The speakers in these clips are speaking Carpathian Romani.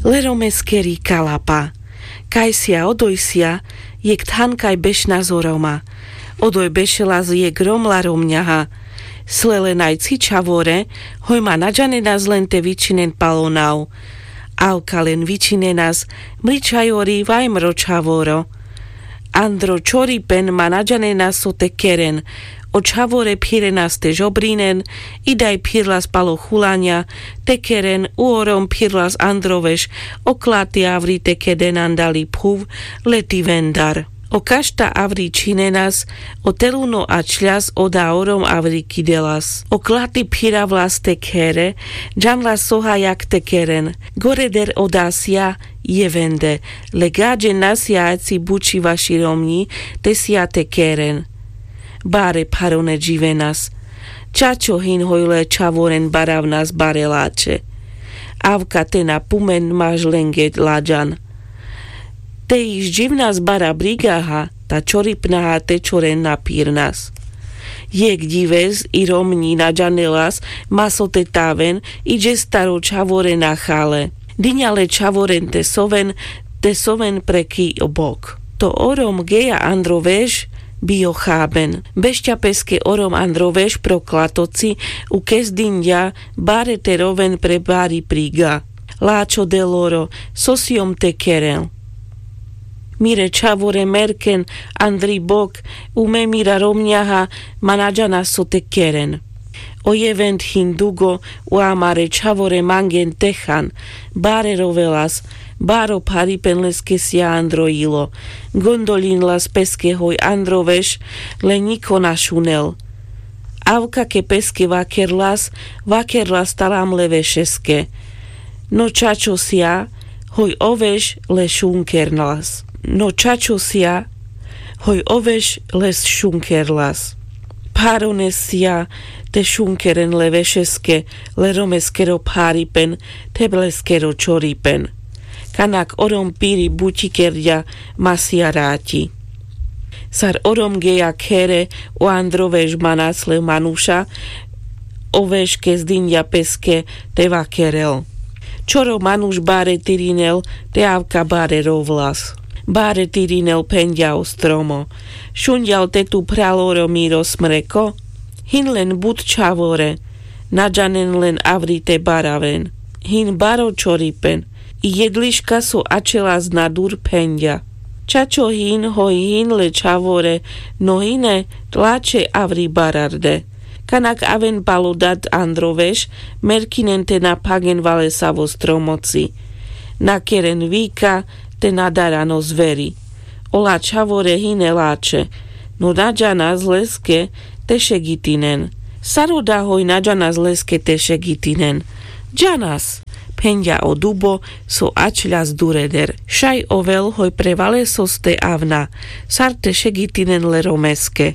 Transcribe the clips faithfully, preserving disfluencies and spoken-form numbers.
Le romeskeri kalapa. Kajsia odojsia jekh thankaj bešnas o roma. Odoj bešelas jekh rom la romňaha. Sle len aj cchi čhavore, hoj ma na džanenas len te vičinen pal o nav. Avka len vičinenas, mličajori vajmro čhavoro. Andro čoripen ma na džanenas so te keren. O čhavore phirenas te žobrinen, idaj phirlas pal o chulaňa te keren. U o rom phirlas andro veš. O klati avri te keden andali phuv, leti vendar. O kašta avri čhinenas. O teluno ačľas oda o rom avri kidelas. O klati phiravlas te khere, džanlas so hajak te keren. Goreder oda sja jevende. Le gaďen na sja aci buči vaši romňi, te sja te keren. Bare pharone dživenas. Čačo hin hoj le čhavoren baravnas bare lače. Avka te na pumen maž lenge laďan. Te iš dživnas bara brigaha, ta čoripnaha te čoren na phirnas. Jekh džives i romňi na džanelas, ma so te taven, i džestar o čhavore na chale. Diňa le čhavoren te soven, te soven pre ki o bok. To o rom geja andro veš, bio chaben. Bešťa peske o rom andro veš pro klatoci, u kes diňďa bare te roven pre bari priga. Lačo deloro, so siom te keren. Mire čhavore merken andri bok, u me mira romňaha, ma na džanas so te keren. O jevend hin dugo, u amare čhavore mangen te chan. Bare rovelas. Baro pharipen leske sja andro ilo. Gondolinlas peske hoj andro veš, le ňiko na šunel. Avka ke peske vakerlas, vakerlas talam le vešeske. No čačo sja, hoj o veš le šunkerlas. No čačo sja, hoj o veš le šunkerlas. Pharones sja te šunkeren le vešeske, le romeskero pharipen, te leskero čoripen. Kanak o rom piri buči kerďa, ma sja raťi. Sar o rom geja khere, o andro veš manas le manuša, o veš kes diňďa peske te vakerel. Čoro manuš bare tirinel, te avka bare rovlas. Bare tirinel, phenďa o stromo. Šunďal te tu phral o rom miro smreko? Hin len but čhavore, na džanen len avri te baraven. Hin baro čoripen. I jedliška so ačelas na dur phenďa. Čačo hin hoj hin le čhavore, no hine, lače avri bararde. Kanak aven pal o dad andro veš, merkinen te na phagen valesavo stromoci. Na keren vika, te na daran o zveri. Ola čhavore hine lače, no na džanas leske te šegitinen. Sar oda hoj na džanas leske te šegitinen? Džanas, phenďa o dubo so ačľas dureder. Šaj ovel hoj pre valesos te avna, sar te šegitinen le romeske.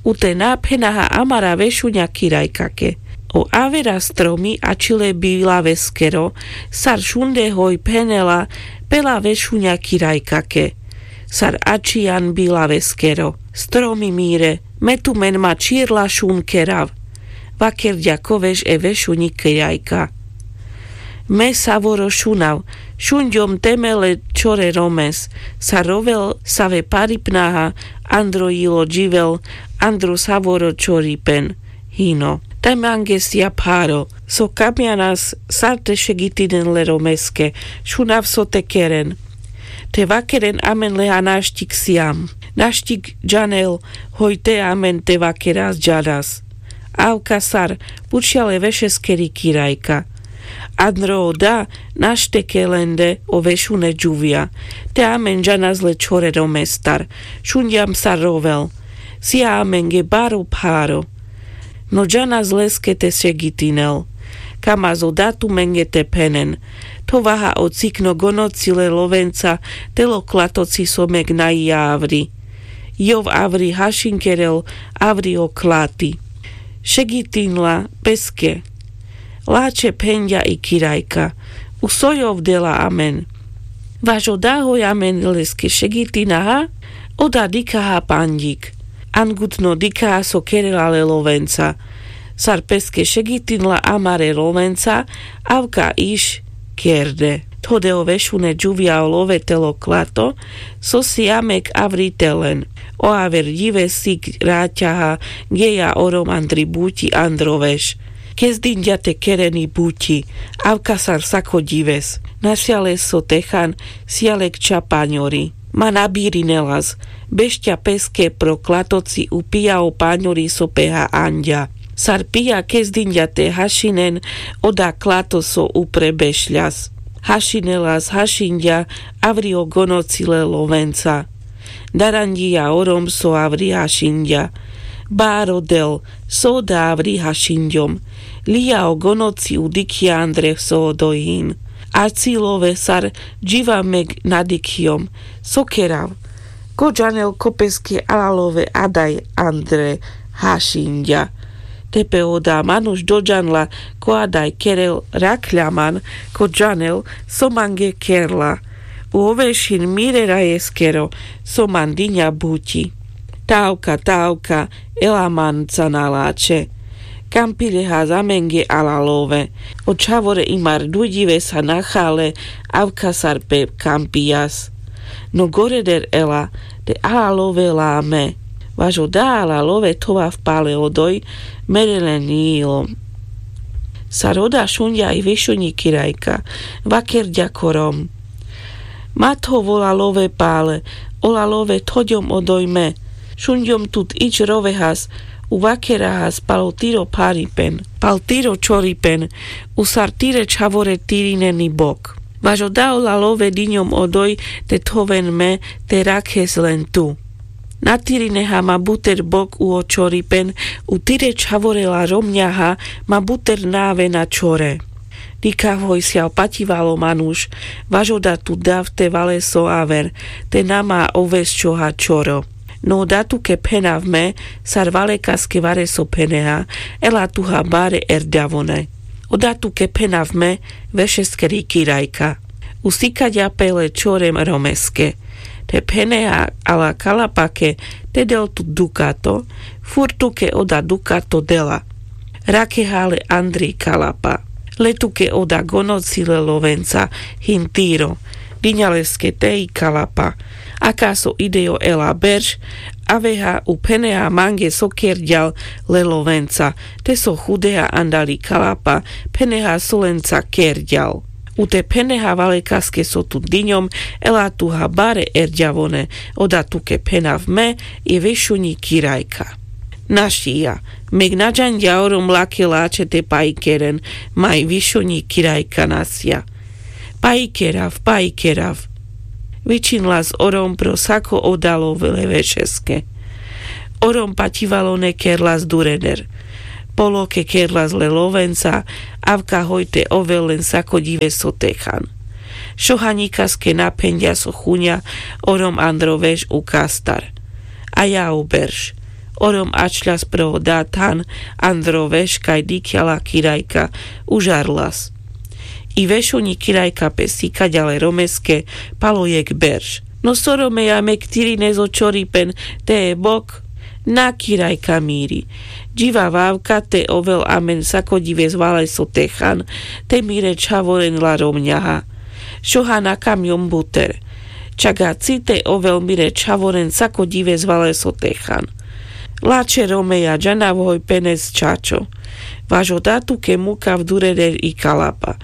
U te na phenaha amara vešuňa kirajkake. O avera stromi ačile bilaveskero, sar šunde hoj phenela pela vešuňa kirajkake. Sar ačhijan bilaveskero. Stromi mire, me tumen ma čhirla šun kerav. Vakerďa ko veš e vešuňi kirajka. Me savoro šunav, šunďom te me le čhore romes, sar rovel save paripnaha, andro jilo dživel, andro savoro čhoripen. Hino. Te mange sija pharo, so kamjanas sar te šegitinen le romeske, šunav so te keren. Te vakeren amen leha naštik sijam. Naštik džanel, hoj te amen te vakeras džanas. Avka sar, pučhja le vešeskeri kirajka. Andro oda, našteke lende o vešune džuvja. Te amen džanas le čhore romestar. Šunďam sar rovel. Sija amenge baro pharo. No džanas leske te šegitinel. Kamaz oda tumenge te phenen. Thovaha o cikno gonoci le lovenca, tel o klatoci so meg na i avri. Jov avri hašin kerel, avri o klati. Šegitinla peske. Lače, phenďa i kirajka. U so jov dela amen? Vaš oda hoj amen leske šegitinaha, oda dikhaha panďik. Angutno dikhaha so kerela le lovenca. Sar peske šegitinla amare lovenca, avka iš kerde. Tho de o vešune džuvia o love telo klato, so si amek avri telen. O aver dive sik raťaha geja o rom andri buťi andro veš. Kezdinďa te kereni buťi, avka sar sako dives. Nasia le so techan, sia le kča paňori. Ma nabirinelas, bešťa peske pro klatoci upija o paňori so peha anďa. Sar pija kezdinďa te hašinen, oda klato so upre bešľas. Hašinelas hašinďa, avri o gonoci le lovenca. Daranďija o rom so avri hašinďa. Baro del, so oda avri hašinďom. Lija o gonoci u dikhija andre so odoj hin. Aci love sar dživa meg nadikhijom. So kerav? Ko džanel ko peske ala love adaj andre hašinďa. Tepe oda manuš dodžanla ko adaj kerel, rakhľa man, ko džanel so mange kerla. U ovešin mire rajeskero, so man diňa buťi. Tavka, tavka, ela manca na lačhe. Kampilehas amenge ala love. O čhavore imar dudive sa nachale, avka sar pe kampijas. No goreder ela, te ala love lame. Vaš oda ala love thovav pale odoj, mere len ilo. Sar oda šunďa i vešuňi kirajka, vakerďa ko rom. Ma thov ola love pale, ola love thoďom odoj me. Šunďom tut ič rovehas, u vakerahas palo tiro pharipen, pal tiro čoripen, u sar tire čhavore tirineni bok. Vaš oda ola love diňom odoj te thoven me, te rakhes len tu. Natirineha ma buter bok u o čoripen, u tire čhavore la romňaha ma buter na avena čore. Dikhav hoj sial paťivalo manuš, vaš oda tu dav te valeso aver, te na ma ovesčoha čoro. No oda tuke phenav me, sar valekaske vareso pheneha, ela tuha bare erďavone. Oda tuke phenav me, vešeskeri kirajka. Usikaďa pe le čore romeske. Te pheneha ala kalapake, te del tut dukato, furt tuke oda dukato dela. Rakheha le andri kalapa. Le tuke oda gonoci le lovenca, hin tiro. Diňa leske te i kalapa. Akaso idejo ela berš, aveha u pheneha mange so kerďal le lovenca, te so chudeha andali kalapa, pheneha so lenca kerďal. U te pheneha valekaske so tu diňom, ela tuha bare erďavone, oda tuke phenav me, i vešuňi kirajka. Našija, meg na džanďa o rom lake lačhe te pajkeren, ma i vešuňi kirajka nasia. Pajkerav, pajkerav. Vičinlas o rom pro sako oda love le vešeske. O rom paťivalone kerlas dureder. Poloke kerlas le lovenca, avka hoj te ovel len sako dive so techan. Šohaňikaske na phenďa so chuňa o rom andro veš u kastar. A ja o berš. O rom ačľas pro oda than andro veš kaj dikhľa la kirajka, užarlas. I vešuňi kirajka pe sikaďa le romeske palo jekh berš. No so romeja, meg tirines o čoripen, te e bok? Na, kirajka miri. Dživa avka te ovel amen sako dives valeso techan, te mire čhavoren la romňaha. Šoha na kamňom buter. Čak aci te ovel mire čhavoren sako dives valeso techan. Lačhe romeja, džanav hoj penes čačo. Vaš oda tuke mukav dureder i kalapa.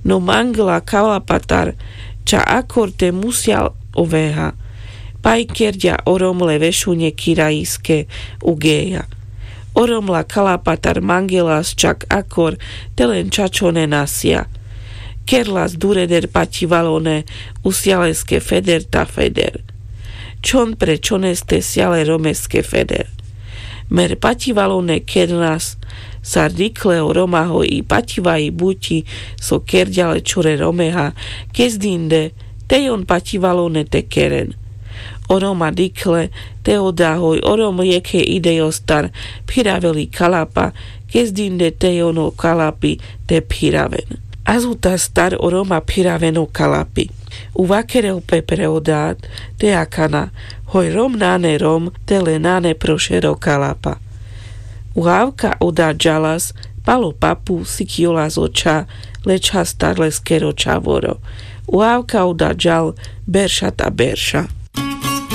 No mangla kalapatar ča akor te musial oveha. Pajkerďa o rom le vešuňe kirajiske u geja. O rom la kalapatar mangelas čak akor te len čačone nasia. Kerlas dureder paťivalone, usia leske feder ta feder. Čhon pre čhoneste sia le romeske feder. Mer paťivalone kernas, sar dikhle o roma hoj i paťivaji buťi so kerďa le čore romeha, kezdinde, tej on paťivalone te keren. O roma dikhle, te oda hoj o rom jekhe idejostar phiravel i kalapa, kezdinde tej on o kalapi te phiraven. Azutastar o roma phiraven o kalapi. U vakerel pe pre oda, te akana, hoj rom nane rom, te le nane pro šero kalapa. U avka oda džalas, Palo papu sikiolas očha, lečhastar leskero čhavoro. Uavka o dadžal berša ta berša.